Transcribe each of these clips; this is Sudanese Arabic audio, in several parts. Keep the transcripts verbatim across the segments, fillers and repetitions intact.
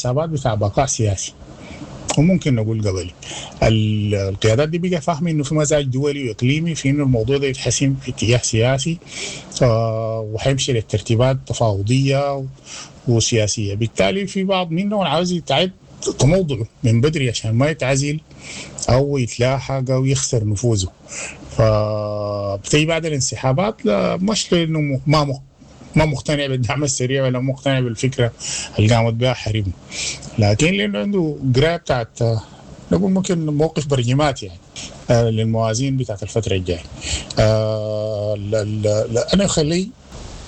حسابات بتاع بقاء سياسي وممكن نقول قبلي. القيادات دي بقى فاهمه انه في مزاج دولي واقليمي في انه الموضوع ده يتحسم في اتجاه سياسي، آه وحيمشي للترتيبات تفاوضيه وسياسية. بالتالي في بعض منهم عاوز يتعد تموضعه من بدري عشان ما يتعزل او يتلاحق او يخسر نفوذه. فبتيجي بعد الانسحابات لا، مش لانه ما ما مقتنع بالدعم السريع ولا مقتنع بالفكرة اللي قامت بها حريم، لكن لانه عنده قرايه بتاعت نقول ممكن موقف برجمات يعني آه للموازين بتاعت الفترة الجاية. آه انا خلي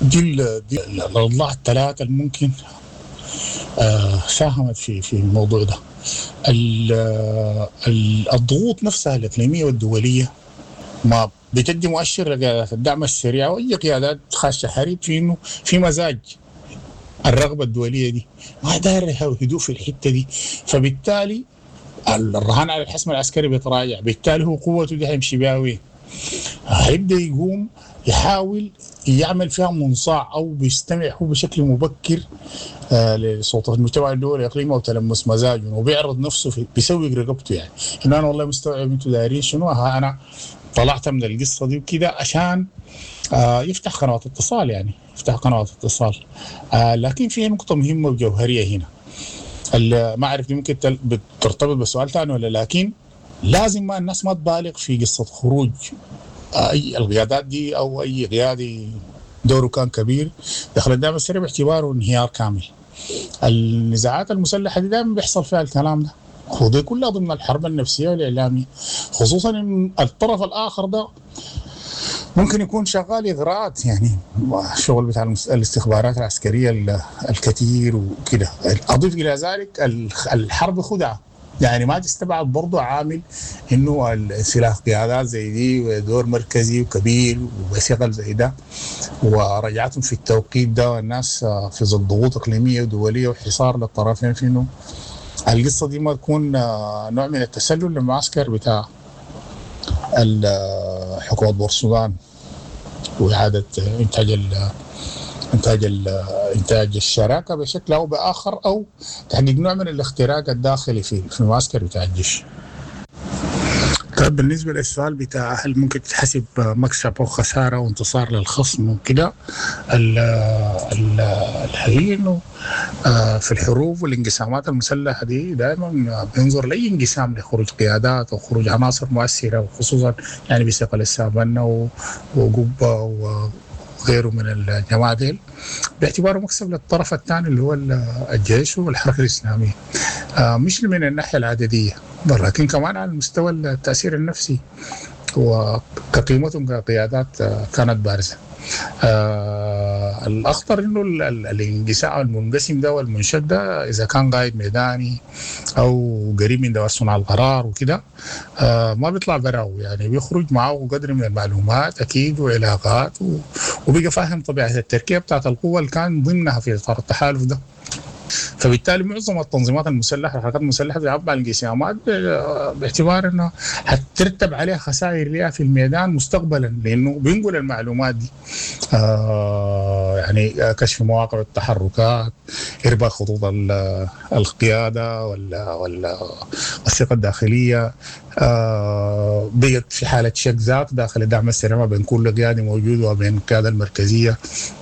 دي دي الاضلاع الثلاثة اللي ممكن آه ساهمت في في الموضوع ده. الضغوط نفسها الاقليمية والدولية ما بتدي مؤشر لقيادات الدعم السريع واي قيادات خاشه حرب في انه في مزاج الرغبة الدولية دي ما داير هدوء في الحتة دي، فبالتالي الرهان على الحسم العسكري بيتراجع، بالتالي هو قوته دي حيمشي بها وين؟ هيبدا يقوم يحاول يعمل فيها منصاع او بيستمع هو بشكل مبكر آه لصوت المجتمع الدولي الاقليمي او تلمس مزاجه، وبيعرض نفسه في بيسوق رقبته يعني انه انا والله مستوعب انتم دايرين شنو، ها انا طلعت من القصة دي وكده عشان آه يفتح قنوات اتصال، يعني يفتح قنوات اتصال. آه لكن في نقطة مهمة وجوهريه هنا، ما اعرف دي ممكن بترتبط بسؤال ثاني ولا، لكن لازم ما الناس ما تبالغ في قصة خروج اي القيادات دي او اي قيادي دوره كان كبير دخل الدعم السريع باعتباره انهيار كامل. النزاعات المسلحة دي دائما بيحصل فيها الكلام ده، ودي كلها ضمن الحرب النفسية والاعلامية، خصوصا ان الطرف الاخر ده ممكن يكون شغال اغراءات، يعني الشغل بتاع الاستخبارات العسكرية الكثير وكده. اضيف الى ذلك الحرب خدعه، يعني ما تستبعد برضه عامل انه الانسلاخ قيادات زي دي ودور مركزي وكبير وثقل زي ده ورجعتهم في التوقيت ده والناس في ظل ضغوط اقليمية ودوليه وحصار للطرفين، في انه القصة دي ما تكون نوع من التسلل للمعسكر بتاع حكومة بورسودان واعاده انتاج انتاج انتاج الشراكة بشكل او باخر، او تحقيق نوع من الاختراق الداخلي في في المعسكر بتاع الجيش. طيب بالنسبة للسؤال بتاع هل ممكن تتحسب مكسب او خسارة وانتصار للخصم وكده، الحقيقة انه في الحروب والانقسامات المسلحة دي دائما بينظر لاي انقسام لخروج قيادات او خروج عناصر مؤثرة، وخصوصا يعني بثقل السافنا وقبه وغيره من الجماعة ديل، باعتباره مكسب للطرف الثاني اللي هو الجيش والحركة الاسلامية، مش من الناحية العدديه لكن كمان على مستوى التاثير النفسي وكقيمتهم كقيادات كانت بارزة. آه الاخطر انه الانقسام المنقسم ده والمنشد ده اذا كان قائد ميداني او قريب من دوائر صنع القرار وكده، آه ما بيطلع براو، يعني بيخرج معه قدر من المعلومات اكيد وعلاقات، وبقى فاهم طبيعة التركيبة بتاعت القوة اللي كان ضمنها في اطار التحالف ده. فبالتالي معظم التنظيمات المسلحة الحركات المسلحة بتلعب على الانقسامات باعتبار انه حترتب عليها خسائر لها في الميدان مستقبلا، لانه بينقل المعلومات دي، آه يعني كشف مواقع التحركات، ارباك خطوط القيادة ولا ولا الثقة الداخلية، آه بقت في حاله شك ذات داخل الدعم السريع ما بين كل قيادي موجود وبين القيادة المركزية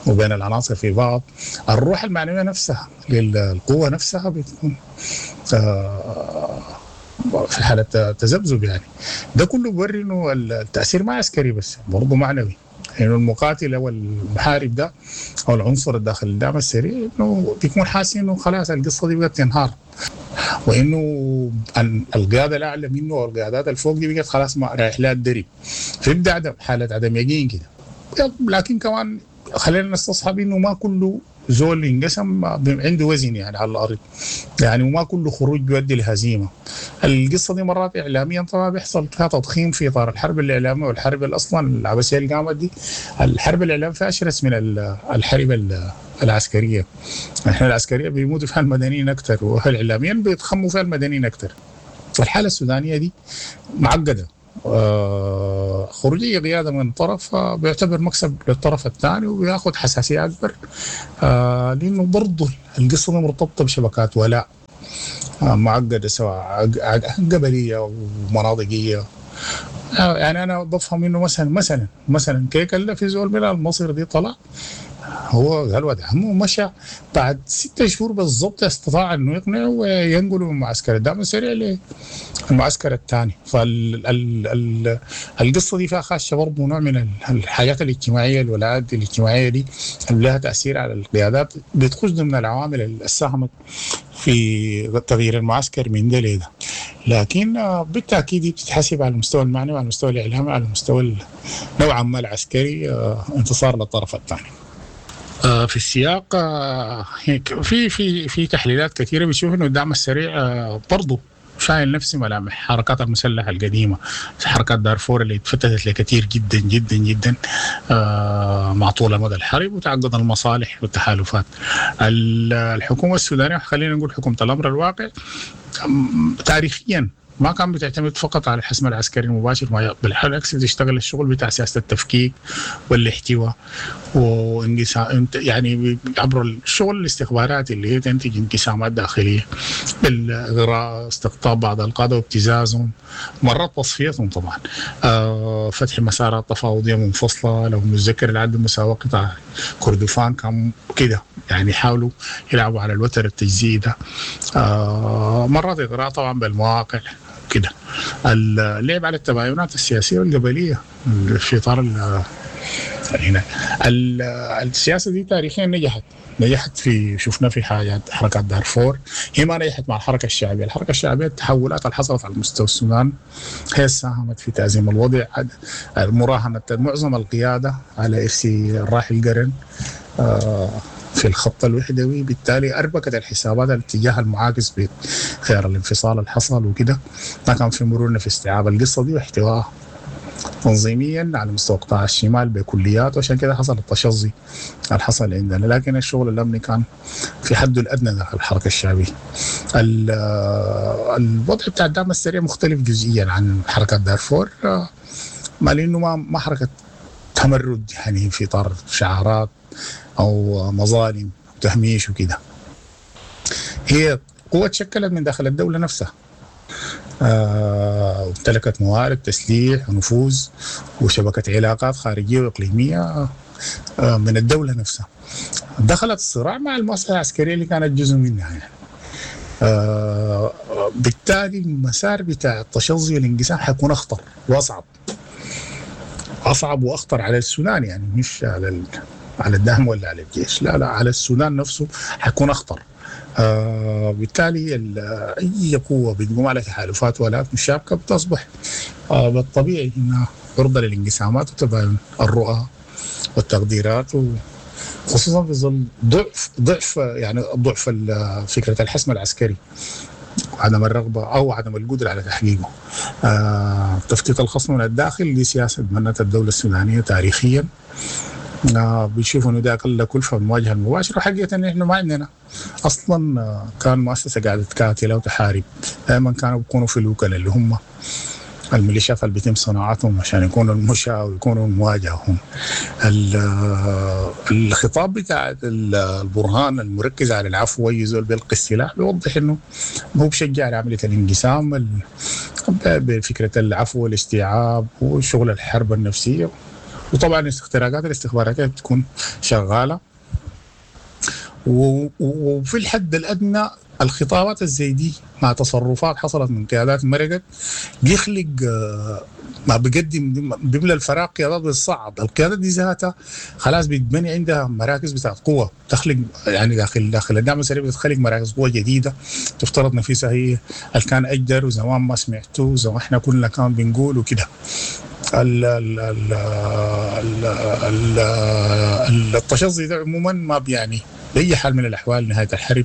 وبين العناصر في بعض. الروح المعنوية نفسها للقوة نفسها بتكون آه في حاله تذبذب، يعني ده كله بيوري انه التاثير ما عسكري بس برضه معنوي، يعني المقاتل او المحارب ده او العنصر الداخل الدعم السريع انه بيكون حاسس انه خلاص القصة دي بقت تنهار، وانه القيادة الاعلى منه او القيادات الفوق دي بقت خلاص ما رايح لها الدرب، فيبدا عدم حاله عدم يقين كده. لكن كمان خلينا نستصحب انه ما كله زول انقسم عنده وزن يعني على الارض، يعني وما كله خروج بيؤدي لهزيمه. القصة دي مرات اعلاميا طبعا بيحصل فيها تضخيم في اطار الحرب الاعلامية، والحرب اصلا العبثيه اللي قامت دي الحرب الاعلامية فيها اشرس من الحرب العسكرية. احنا العسكرية بيموتوا فيها المدنيين اكثر، والاعلاميا بيتخموا فيها المدنيين اكثر. الحالة السودانية دي معقدة، آه خروجية قيادة من طرف آه بيعتبر مكسب للطرف الثاني وبياخذ حساسية أكبر، آه لأنه برضه القصة دي مرتبطة بشبكات ولاء. معقدة، سواء قبلية ومناطقية. يعني أنا بفهم إنه مثلا مثلا مثلا كيكل في زول من المصير دي طلع هو قال ود عمه مشى بعد ستة شهور بالضبط استطاع انه يقنعه وينقله من معسكر الدعم السريع للمعسكر الثاني. فالقصة دي فيها خاشه برضه نوع من الحاجات الاجتماعية، الولاءات الاجتماعية دي اللي لها تاثير على القيادات، بتخش ضمن العوامل اللي ساهمت في تغيير المعسكر من ده لده. لكن بالتاكيد بتتحسب على المستوى المعنوي، على المستوى الاعلامي، على المستوى نوعا ما العسكري انتصار للطرف الثاني. في السياق في في في تحليلات كثيرة بتشوف انه الدعم السريع برضه شايل نفس ملامح حركات المسلحة القديمة، حركات دارفور اللي اتفتتت لكثير جدا جدا جدا مع طول مدى الحرب وتعقد المصالح والتحالفات. الحكومة السودانية، خلينا نقول حكومة الامر الواقع، تاريخيا ما كان بتعتمد فقط على الحسم العسكري المباشر، بالعكس بتشتغل الشغل بتاع سياسة التفكيك والاحتواء وانقسام، يعني عبر الشغل الاستخباراتي اللي هي تنتج انقسامات داخلية بالاغراء، استقطاب بعض القادة وابتزازهم، مرات تصفيتهم طبعا، آه فتح مسارات تفاوضيه منفصلة. لو متذكر العدل المساواة قطاع كردفان كان كده، يعني حاولوا يلعبوا على الوتر التجزئي ده. آه مرات اغراء طبعا بالمواقع كده، اللعب على التباينات السياسية والقبليه في اطار هنا. السياسة دي تاريخيا نجحت، نجحت في شفنا في حاجات حركات دارفور، هي ما نجحت مع الحركة الشعبية. الحركة الشعبية التحولات اللي حصلت على مستوى السودان هي ساهمت في تأزيم الوضع، مراهنه معظم القيادة على ارسي الراحل قرن في الخط الوحدوي، بالتالي أربكت الحسابات الاتجاه المعاكس بخيار الانفصال اللي حصل وكده. ما كان في مرونة في استيعاب القصة دي واحتوائها تنظيميا على مستوى قطاع الشمال بكليات، وعشان كده حصل التشظي اللي حصل عندنا. لكن الشغل الأمني كان في حده الأدنى داخل الحركة الشعبية. الوضع بتاع الدعم السريع مختلف جزئيا عن حركات دارفور، ما لأنه ما ما حركة تمرد يعني في إطار شعارات أو مظالم وتهميش وكده، هي قوة تشكلت من داخل الدولة نفسها، آه، وامتلكت موارد تسليح ونفوذ وشبكة علاقات خارجية وإقليمية آه، من الدولة نفسها. دخلت الصراع مع المؤسسة العسكرية اللي كانت جزء منها يعني. آه، بالتالي المسار بتاع التشظي والانقسام حيكون أخطر وأصعب، أصعب وأخطر على السودان، يعني مش على ال... على الدعم ولا على الجيش، لا لا، على السودان نفسه حيكون أخطر. آه بالتالي أي قوة بتقوم على تحالفات ولاءات مشابكة بتصبح آه بالطبيعي إنها عرضة للانقسامات وتباين الرؤى والتقديرات، وخصوصا في ظل ضعف ضعف يعني ضعف فكرة الحسم العسكري وعدم الرغبة أو عدم القدرة على تحقيقه. آه تفتيت الخصم من الداخل دي سياسة تبنتها الدولة السودانية تاريخيا، آه بيشوفوا انه ده اقل كلفه من المواجهة المباشرة، وحقيقة ان احنا ما عندنا اصلا آه كان مؤسسة قاعدة تقاتل او تحارب، دائما كانوا بيكونوا في الوكلاء اللي هم الميليشيات اللي بيتم صناعتهم عشان يكونوا المشاة ويكونوا المواجهة. هم الخطاب بتاع البرهان المركز على العفو ويزول بيلقي السلاح بيوضح انه هو بشجع على عملية الانقسام بفكره العفو والاستيعاب وشغل الحرب النفسية، وطبعا الاختراقات الاستخباراتية بتكون شغالة. وفي الحد الادنى الخطابات الزي دي مع تصرفات حصلت من قيادات مرقت بيخلق ما بيقدم بيملى الفراغ قيادات بالصعب. القيادات دي ذاتها خلاص بتبني عندها مراكز بتاعت قوة، تخلق يعني داخل داخل الدعم السريع بتخلق مراكز قوة جديدة تفترض نفسها هي اللي كان اجدر وزمان ما سمعتوه زي ما احنا كلنا كان بنقول وكده. ال ال ال ال ال التشظي ده عموما ما بيعني باي حال من الاحوال نهاية الحرب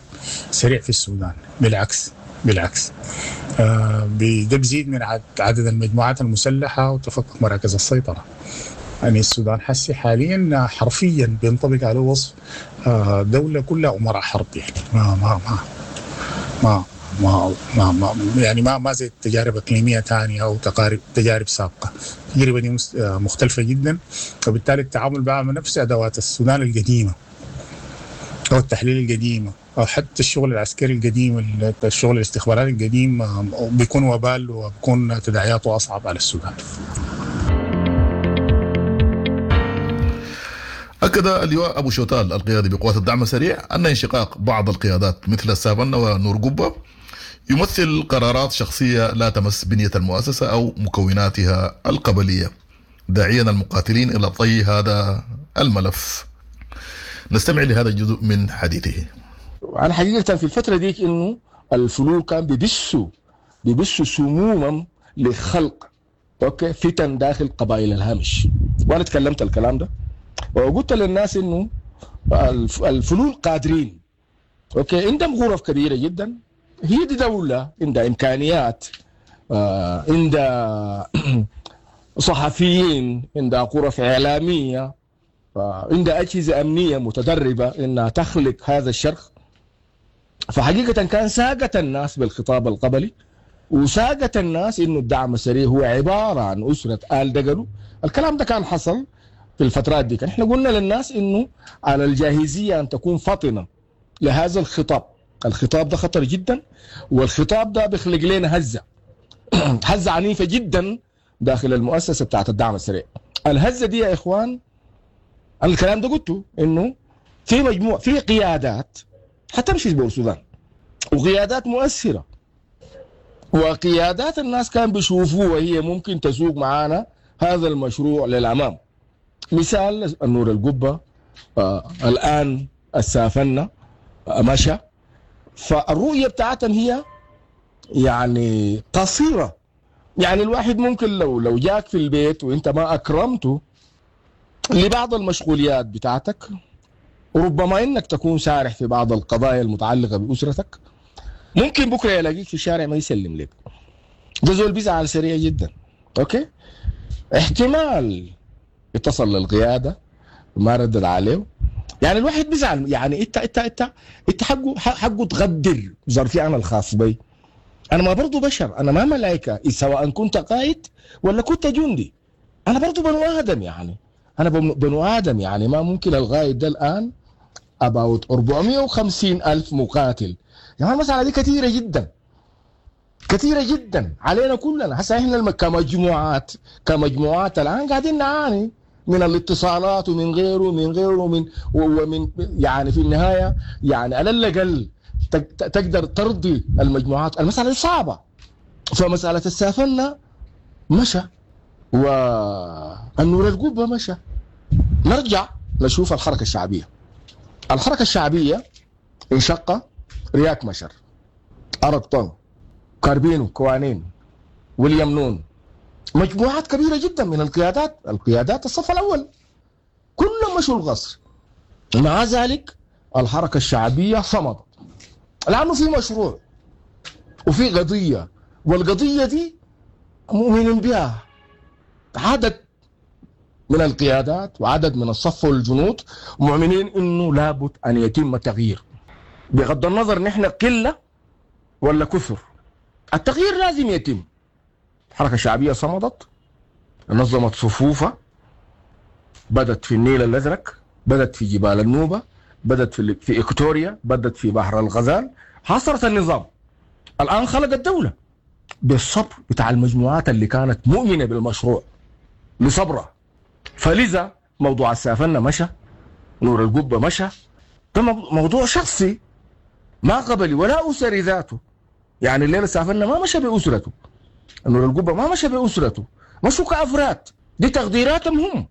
سريع في السودان، بالعكس بالعكس آه ده بيزيد من عدد المجموعات المسلحة وتفكك مراكز السيطرة. يعني السودان حسي حاليا حرفيا بينطبق على وصف آه دولة كلها امراء حرب، يعني ما ما ما ما ما ما, ما يعني ما ما زي تجارب اقليمية ثانية او تقارب تجارب سابقه. التجربة دي مختلفة جدا، وبالتالي التعامل بقى مع نفس ادوات السودان القديمة او التحليل القديمة أو حتى الشغل العسكري القديم، الشغل الاستخباراتي القديم بيكون وبال وبيكون تداعياته أصعب على السودان. أكد اللواء أبو شوتال القيادي بقوات الدعم السريع أن انشقاق بعض القيادات مثل السافنة ونور قبة يمثل قرارات شخصية لا تمس بنية المؤسسة أو مكوناتها القبلية، داعيا المقاتلين إلى طي هذا الملف. نستمع لهذا الجزء من حديثه. أنا حقيقة في الفترة ديك إنه الفلول كان بيبسوا بيبسوا سموما لخلق okay فتن داخل قبائل الهامش، وأنا تكلمت الكلام ده وقلت للناس إنه الفلول قادرين okay عندهم غرف كبيرة جدا، هي دي دولة عندها إمكانيات، آه عندها صحفيين، عندها غرف إعلامية، عندها أجهزة أمنية متدربة إنها تخلق هذا الشرخ. فحقيقة كان ساقت الناس بالخطاب القبلي، وساقت الناس إنه الدعم السريع هو عبارة عن أسرة آل دقلو. الكلام ده كان حصل في الفترات دي. احنا قلنا للناس إنه على الجاهزية أن تكون فطنة لهذا الخطاب. الخطاب ده خطر جدا، والخطاب ده بيخلق لنا هزة هزة عنيفة جدا داخل المؤسسة بتاعت الدعم السريع. الهزة دي يا إخوان، الكلام ده قلته إنه في مجموعة في قيادات حتمشي في السودان، وقيادات مؤثرة، وقيادات الناس كان بيشوفوها وهي ممكن تسوق معانا هذا المشروع للأمام. مثال النور القبة، آه الآن السافنة آه مشى. فالرؤية بتاعتهم هي يعني قصيرة. يعني الواحد ممكن لو لو جاك في البيت وانت ما أكرمته لبعض المشغوليات بتاعتك، وربما انك تكون سارح في بعض القضايا المتعلقة بأسرتك، ممكن بكرة يلاقيك في الشارع ما يسلم لك. ده زول بيزعل سريع جدا. okay، احتمال اتصل للقيادة ما ردد عليه. يعني الواحد بيزعل، يعني انت انت انت انت حقه حقه تغدر ظرفي انا الخاص بي. انا ما برضو بشر، انا ما ملائكة، سواء كنت قائد ولا كنت جندي، انا برضو بنو ادم. يعني انا بنو ادم، يعني ما ممكن الغايد ده الان about أربعمية وخمسين ألف مقاتل. يعني المسألة دي كثيرة جدا، كثيرة جدا علينا كلنا. هسه احنا كمجموعات كمجموعات الان قاعدين نعاني من الاتصالات ومن غيره ومن غيره ومن ومن يعني في النهاية يعني على الأقل تقدر ترضي المجموعات. المسألة دي صعبة. فمسألة السافنة مشى والنور القبة مشى. نرجع نشوف الحركة الشعبية. الحركة الشعبية انشق رياك مشر، أرقطون، كاربينو، كوانين، ويليام نون، مجموعات كبيرة جدا من القيادات، القيادات الصف الأول كلهم مشوا القصر. مع ذلك الحركة الشعبية صمدت، لأنه في مشروع وفي قضية، والقضية دي مؤمنين بها عدد من القيادات وعدد من الصف والجنود، مؤمنين انه لابد ان يتم التغيير بغض النظر نحن قلة ولا كثر، التغيير لازم يتم. الحركة الشعبية صمدت، نظمت صفوفها، بدت في النيل الازرق، بدت في جبال النوبة، بدت في في إكتوريا، بدت في بحر الغزال، حاصرت النظام. الان خلق الدولة بالصبر بتاع المجموعات اللي كانت مؤمنة بالمشروع لصبرها. فلذا موضوع السافنة مشى، نور القبة مشى، ده موضوع شخصي ما قبلي ولا أسري ذاته. يعني الليلة السافنة ما مشى بأسرته، نور القبة ما مشى بأسرته، مشوا كأفراد، دي تقديراتهم هم.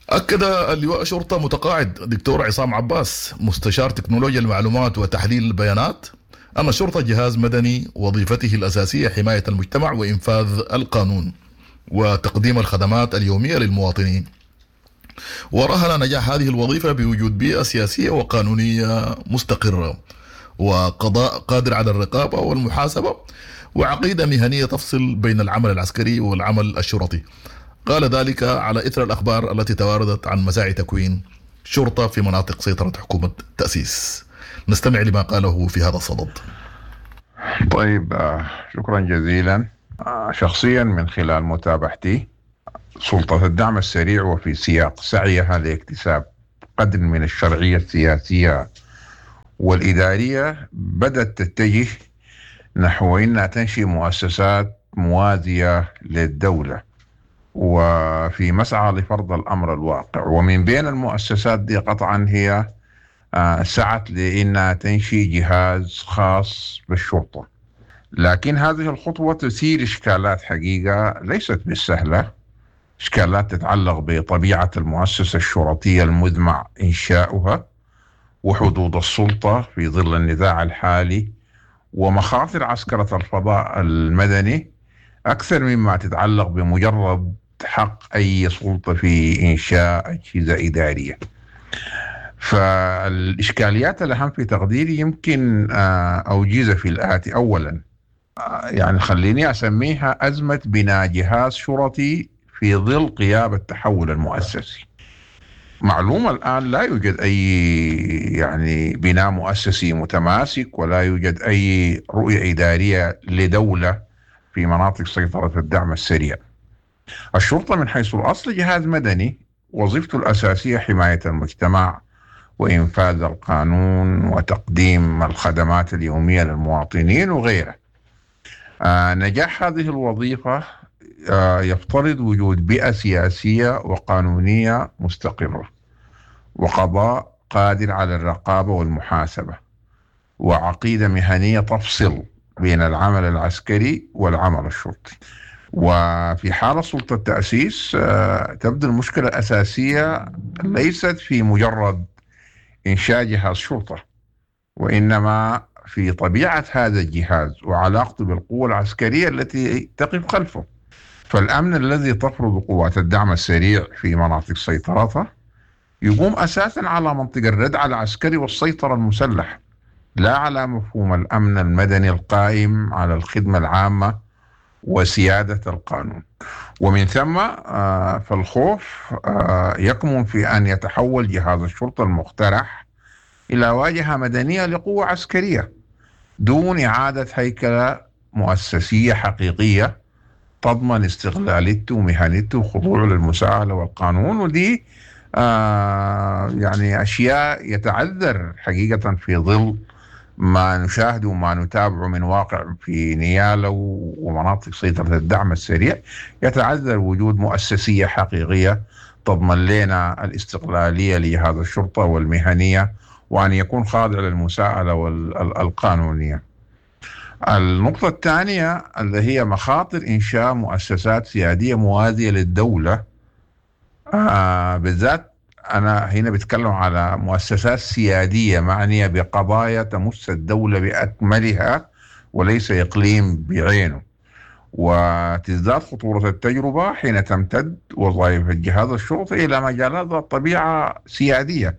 أكد اللواء شرطة متقاعد دكتور عصام عباس مستشار تكنولوجيا المعلومات وتحليل البيانات أن الشرطة جهاز مدني وظيفته الأساسية حماية المجتمع وإنفاذ القانون وتقديم الخدمات اليومية للمواطنين، ورهن نجاح هذه الوظيفة بوجود بيئة سياسية وقانونية مستقرة وقضاء قادر على الرقابة والمحاسبة وعقيدة مهنية تفصل بين العمل العسكري والعمل الشرطي. قال ذلك على إثر الأخبار التي تواردت عن مساعي تكوين شرطة في مناطق سيطرة حكومة تأسيس. نستمع لما قاله في هذا الصدد. طيب، شكرا جزيلا. شخصيا من خلال متابعتي سلطة الدعم السريع وفي سياق سعيها لاكتساب قدر من الشرعية السياسية والإدارية، بدأت تتجه نحو إنها تنشئ مؤسسات موازية للدولة وفي مسعى لفرض الأمر الواقع. ومن بين المؤسسات دي قطعا هي سعت لإنها تنشئ جهاز خاص بالشرطة، لكن هذه الخطوة تثير إشكالات حقيقة ليست بالسهلة، إشكالات تتعلق بطبيعة المؤسسة الشرطية المزمع إنشاؤها وحدود السلطة في ظل النزاع الحالي ومخاطر عسكرة الفضاء المدني، أكثر مما تتعلق بمجرد حق أي سلطة في إنشاء أجهزة إدارية. فالإشكاليات الأهم في تقديري يمكن أوجزها في الآتي. أولا، يعني خليني أسميها أزمة بناء جهاز شرطي في ظل غياب التحول المؤسسي. معلومة الآن لا يوجد أي يعني بناء مؤسسي متماسك، ولا يوجد أي رؤية إدارية لدولة في مناطق سيطرة الدعم السريع. الشرطة من حيث الأصل جهاز مدني، وظيفته الأساسية حماية المجتمع وإنفاذ القانون وتقديم الخدمات اليومية للمواطنين وغيره. آه نجاح هذه الوظيفة آه يفترض وجود بيئة سياسية وقانونية مستقرة، وقضاء قادر على الرقابة والمحاسبة، وعقيدة مهنية تفصل بين العمل العسكري والعمل الشرطي. وفي حالة سلطة التأسيس آه تبدو المشكلة الأساسية ليست في مجرد إنشاء جهاز شرطة، وإنما في طبيعة هذا الجهاز وعلاقته بالقوة العسكرية التي تقف خلفه. فالأمن الذي تفرض قوات الدعم السريع في مناطق سيطرته يقوم أساسا على منطق الردع العسكري والسيطرة المسلح، لا على مفهوم الأمن المدني القائم على الخدمة العامة وسيادة القانون. ومن ثم فالخوف يكمن في أن يتحول جهاز الشرطة المقترح إلى واجهة مدنية لقوة عسكرية دون إعادة هيكلة مؤسسية حقيقية تضمن استغلالته ومهنته وخضوعه للمساءلة والقانون. ودي آه يعني أشياء يتعذر حقيقة في ظل ما نشاهده وما نتابعه من واقع في نيالا ومناطق سيطرة الدعم السريع، يتعذر وجود مؤسسية حقيقية تضمن لنا الاستقلالية لهذا الشرطة والمهنية، وأن يكون خاضع للمساءلة والقانونية. النقطة الثانية اللي هي مخاطر إنشاء مؤسسات سيادية موازية للدولة، آه بالذات أنا هنا بتكلم على مؤسسات سيادية معنية بقضايا تمس الدولة بأكملها وليس إقليم بعينه. وتزداد خطورة التجربة حين تمتد وظائف الجهاز الشرطي إلى مجالات ذات طبيعة سيادية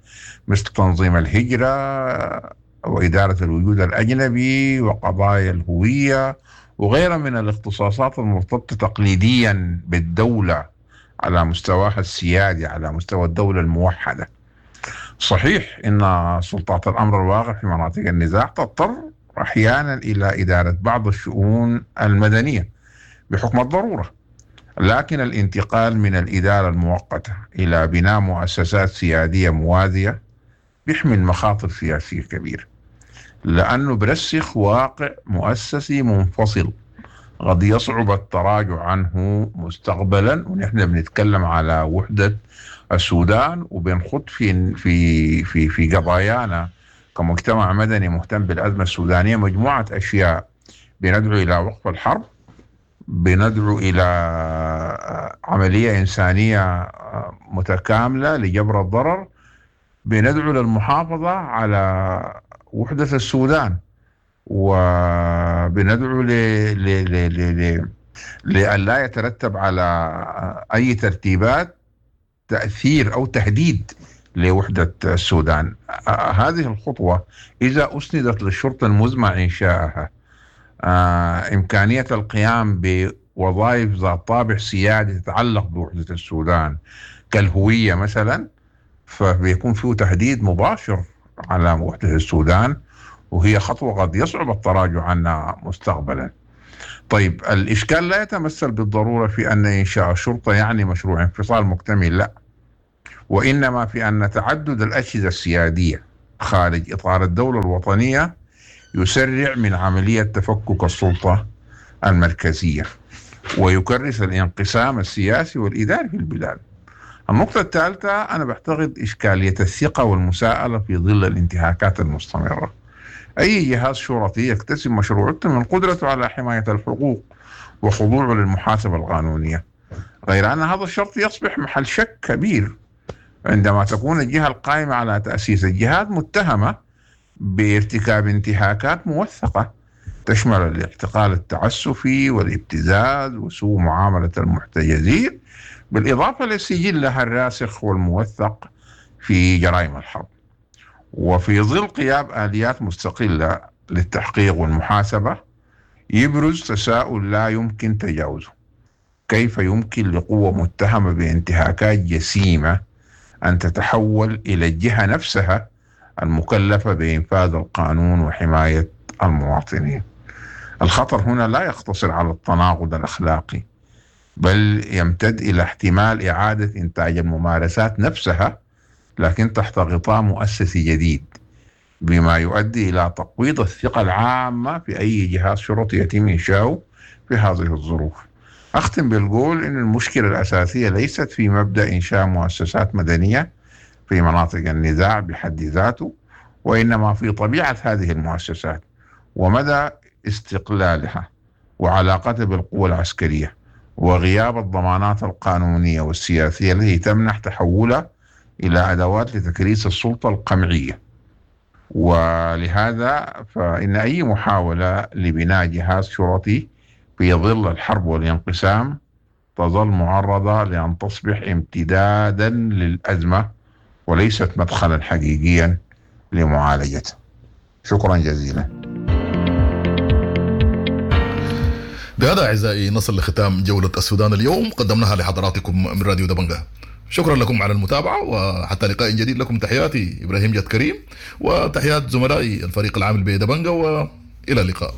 مثل تنظيم الهجرة وإدارة الوجود الأجنبي وقضايا الهوية وغيرها من الاختصاصات المرتبطة تقليديا بالدولة على مستواها السيادي، على مستوى الدولة الموحدة. صحيح إن سلطات الأمر الواقع في مناطق النزاع تضطر أحيانا إلى إدارة بعض الشؤون المدنية بحكم الضرورة، لكن الانتقال من الإدارة المؤقتة إلى بناء مؤسسات سيادية موازية بيحمل مخاطر سياسية كبيرة، لأنه برسخ واقع مؤسسي منفصل قد يصعب التراجع عنه مستقبلا. ونحن بنتكلم على وحدة السودان وبنخط في في في في قضايانا كمجتمع مدني مهتم بالأزمة السودانية مجموعة أشياء. بندعو إلى وقف الحرب، بندعو إلى عملية إنسانية متكاملة لجبر الضرر، بندعو للمحافظة على وحدة السودان، وبندعو ل ل ل ل لئلا يترتب على أي ترتيبات تأثير أو تهديد لوحدة السودان. هذه الخطوة إذا أسندت للشرطة المزمع إنشاءها إمكانية القيام بوظائف ذات طابع سيادي تتعلق بوحدة السودان كالهوية مثلا، فبيكون فيه تهديد مباشر على وحدة السودان، وهي خطوة قد يصعب التراجع عنها مستقبلا. طيب، الإشكال لا يتمثل بالضرورة في أن إنشاء الشرطة يعني مشروع انفصال مكتمل، لا، وإنما في أن تعدد الأجهزة السيادية خارج إطار الدولة الوطنية يسرع من عملية تفكك السلطة المركزية ويكرس الانقسام السياسي والإداري في البلاد. النقطة الثالثة، أنا بعتقد إشكالية الثقة والمساءلة في ظل الانتهاكات المستمرة. أي جهاز شرطي يكتسب مشروعيته من قدرته على حماية الحقوق وخضوعه للمحاسبة القانونية، غير أن هذا الشرط يصبح محل شك كبير عندما تكون الجهة القائمة على تأسيس الجهاز متهمة بارتكاب انتهاكات موثقة تشمل الاعتقال التعسفي والابتزاز وسوء معاملة المحتجزين، بالإضافة لسجلها الراسخ والموثق في جرائم الحرب. وفي ظل قيام آليات مستقلة للتحقيق والمحاسبة يبرز تساؤل لا يمكن تجاوزه: كيف يمكن لقوة متهمة بانتهاكات جسيمة أن تتحول إلى الجهة نفسها المكلفة بإنفاذ القانون وحماية المواطنين؟ الخطر هنا لا يقتصر على التناقض الأخلاقي، بل يمتد إلى احتمال إعادة إنتاج الممارسات نفسها لكن تحت غطاء مؤسسي جديد، بما يؤدي إلى تقويض الثقة العامة في أي جهاز شرطي يتم إنشاؤه في هذه الظروف. أختم بالقول إن المشكلة الأساسية ليست في مبدأ إنشاء مؤسسات مدنية في مناطق النزاع بحد ذاته، وإنما في طبيعة هذه المؤسسات ومدى استقلالها وعلاقتها بالقوى العسكرية وغياب الضمانات القانونية والسياسية التي تمنح تحولها إلى أدوات لتكريس السلطة القمعية. ولهذا فإن أي محاولة لبناء جهاز شرطي في ظل الحرب والانقسام تظل معرضة لأن تصبح امتدادا للأزمة وليست مدخلا حقيقيا لمعالجتها. شكرا جزيلا. بهذا أعزائي نصل لختام جولة السودان اليوم، قدمناها لحضراتكم من راديو دبنجة. شكرا لكم على المتابعة، وحتى لقاء جديد لكم تحياتي إبراهيم جاد كريم وتحيات زملائي الفريق العامل بدبنجة، وإلى اللقاء.